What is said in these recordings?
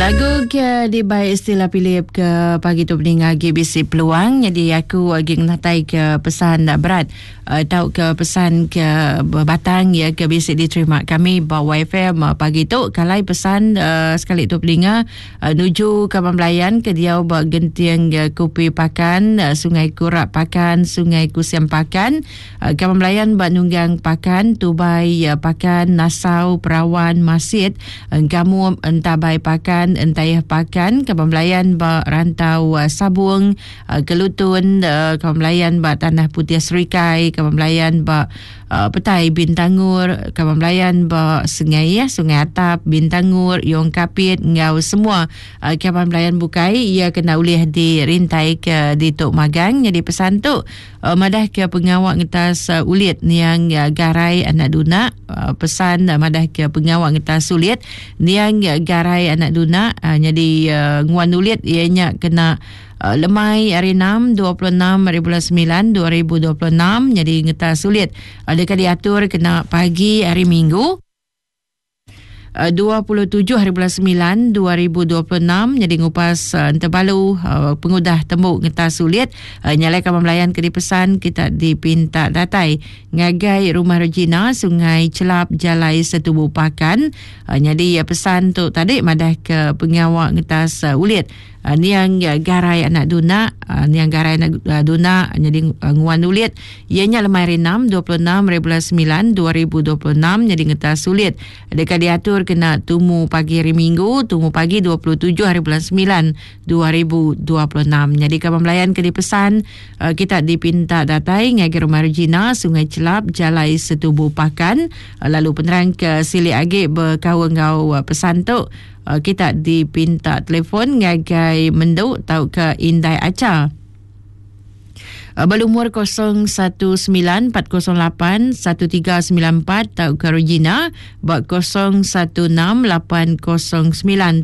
Lagu ke dibai Stella Philip ke pagi tu peninga agi bisi peluang jadi aku agi ngenatai ke pesan berat uh, tau ke pesan ke batang ya ke bisi diterima kami ba YFM uh, pagi tu kalai pesan uh, sekali tu peninga uh, nuju kaban belayan ke diau ba Genting uh, Kupi Pakan uh, Sungai Kurak Pakan Sungai Kusiam Pakan Kaban belayan ba Nunggang Pakan, Tubai Pakan, Nasau, Perawan, Masit, Engkamum, Entabai Pakan, Entayeh Pakan, kaban belayan ba Rantau Sabung, Kelutun, kaban belayan ba Tanah Putih Serikai, kaban belayan ba Petai Bintangur, kaban belayan ba Sengaih, Sungai Atap, Bintangur, Yong Kapit enggau semua kaban belayan bukai iya kena ulih dirintai ke ditu magang nyadi pesan tu. Madah ke pengawa ngetas ulit niang Garai anak Duna pesan madah ke pengawa ngetas ulit niang Garai anak Duna nyadi nguan ulit iya nya kena lemai hari enam 26 hari bulan 9 2026 nyadi ngetas ulit deka diatur kena pagi hari Minggu. 27 hari bulan 9 2026 nyadi ngupas uh, entebalu uh, pengudah tembu ngetas sulit uh, nyalai kaban belayan ke dipesan kita dipinta datai ngagai Rumah Regina Sungai Celap Jalai Setubu Pakan uh, nyadi uh, pesan tu tadi madah ke pengawa ngetas uh, ulit Niang Garai anak Duna, Niang Garai anak Duna nyadi nguan ulit iya nya lemai hari enam 26 hari bulan semilan 2026 nyadi ngetas ulit deka diatur kena tumu pagi hari Minggu tumu pagi 27 hari bulan semilan 2026. Nyadi kaban belayan ke dipesan kita dipinta datai ngagai Rumah Regina Sungai Chelap Jalai Setubu Pakan lalu penerang ke silik agi bekaul enggau pesan tu Kita dipinta telefon ngagai Mendu tauka Indai Acha. Belumur 019 408 1394 tauka Regina ba 016 809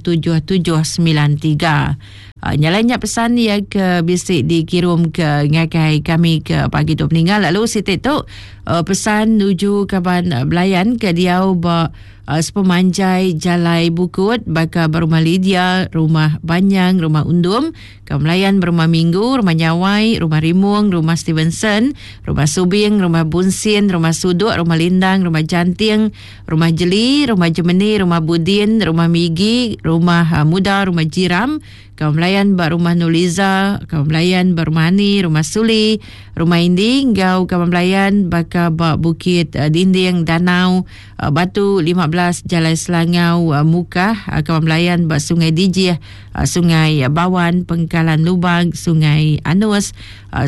7793. Nya alai nya pesan iya ke bisi dikirum ke ngagai kami ke pagi tu peninggal lalu siti tu pesan nuju kaban belayan ke diau ba Sepemanjai jalai bukut baka ba Rumah Lydia, Rumah Banyang, Rumah Undum, Kaum Melayan ba Rumah Minggu, Rumah Nyawai, Rumah Rimong, Rumah Stevenson, Rumah Subing, Rumah Bunsin, Rumah Suduk, Rumah Lindang, Rumah Janting, Rumah Jeli, Rumah Jemeni, Rumah Budin, Rumah Migi, Rumah Muda, Rumah Jiram, Kaum Melayan ba Rumah Nuliza, Kaum Melayan ba Rumah Ani, Rumah Suli, Rumah Indi enggau Kaum Melayan baka ba Bukit Dinding Danau, Batu 15 Jalai Selangau Mukah, Kaum Melayan ba Sungai Dijih, Sungai Bawan, Pengkalan Lubang, Sungai Anus,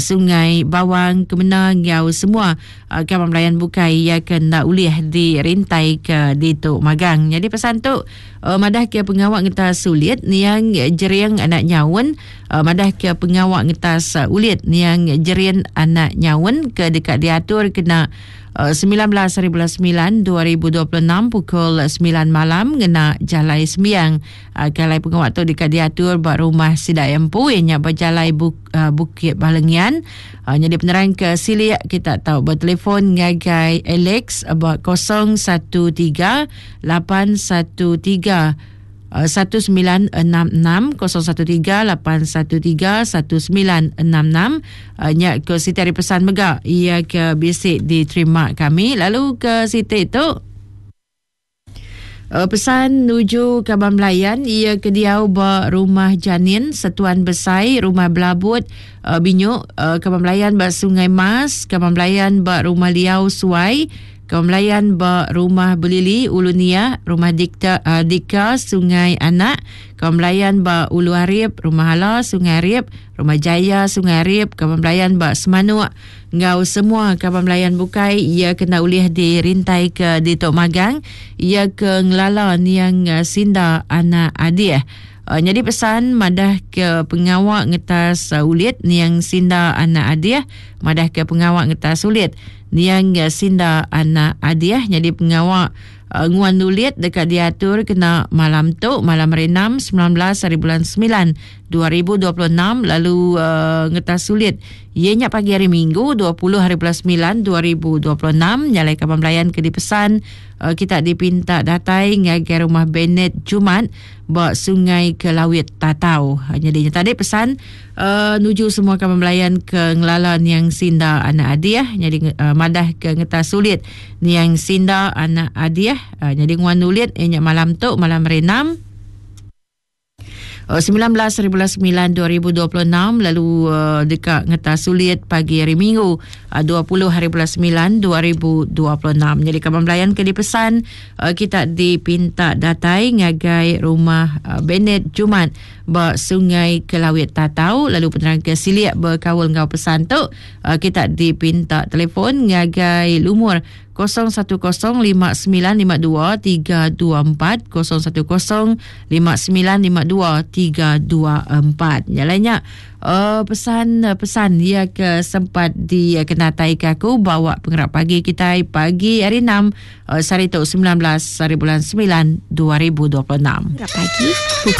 Sungai Bawang, Kemena enggau semua Kaban belayan bukai iya ke enda ulih dirintai ke ditu magang. Nyadi pesan tu madah ke pengawa ngetas ulit niang Jering anak Nyaun madah ke pengawa ngetas ulit niang Jerin anak Nyaun ke deka diatur kena 19 hari bulan 9 2026 pukul 9 malam ngena jalai sembiang. Ke alai pengawa tu deka diatur ba rumah sida empu iya nya ba jalai Bukit Balengian. Nyadi penerang ke silik kita tau betelefon ngagai Alex ba 013 813 1966 013 813 1966 nya ke siti ari pesan mega iya ke bisi diterima kami lalu ke siti tu Pesan nuju kaban belayan iya ke diau ba Rumah Janin, Setuan Besai, Rumah Belabut, Binyuk, kaban belayan ba Sungai Mas, kaban belayan ba Rumah Liau Suai, kaban belayan ba Rumah Belili, Ulu Niah, Rumah Dikta, Dika, Sungai Anak, kaban belayan ba Ulu Arip, Rumah Hala, Sungai Arip, Rumah Jaya, Sungai Arip, kaban belayan ba Semanuk, Enggau semua kaban belayan bukai iya kena ulih dirintai ke ditu magang iya ke ngelala niang Sinda anak Adih. Nyadi pesan madah ke pengawa ngetas ulit niang Sinda anak Adih madah ke pengawa ngetas ulit niang Sinda anak Adih nyadi pengawa. Nguan Nulit deka diatur kena malam tu malam hari 6 19 hari bulan 9 2026 lalu ngetas sulit iya nya pagi hari Minggu 20 hari bulan 9 2026 nyalai kaban belayan ke dipesan kita dipinta datai ngagai rumah Bennett Jumat ba Sungai Kelawit Tatau. Nyadi nya tadi pesan nuju semua kaban belayan ke ngelala niang Sinda anak Adiah nyadi madah ke ngetas sulit niang Sinda anak Adiah nyadi nguan nulit iya nya malam tu malam hari 6 19 hari bulan 9 2026 lalu uh, deka ngetas sulit pagi hari Minggu uh, 20 hari bulan 9 2026. Jadi kaban belayan ke dipesan uh, kita dipinta datai ngagai rumah uh, Bennett Jumat ba Sungai Kelawit Tatau lalu penerang ke silik berkaul enggau pesan tu uh, kita dipinta telefon ngagai lumur 0105952324 0105952324. Nya alai nya uh, pesan uh, pesan ia ke sempat dikenatai ke aku bawa pengerap pagi kitai pagi hari 6 uh, sehari tu 19 hari bulan 9 2026. Pengerap pagi pukul.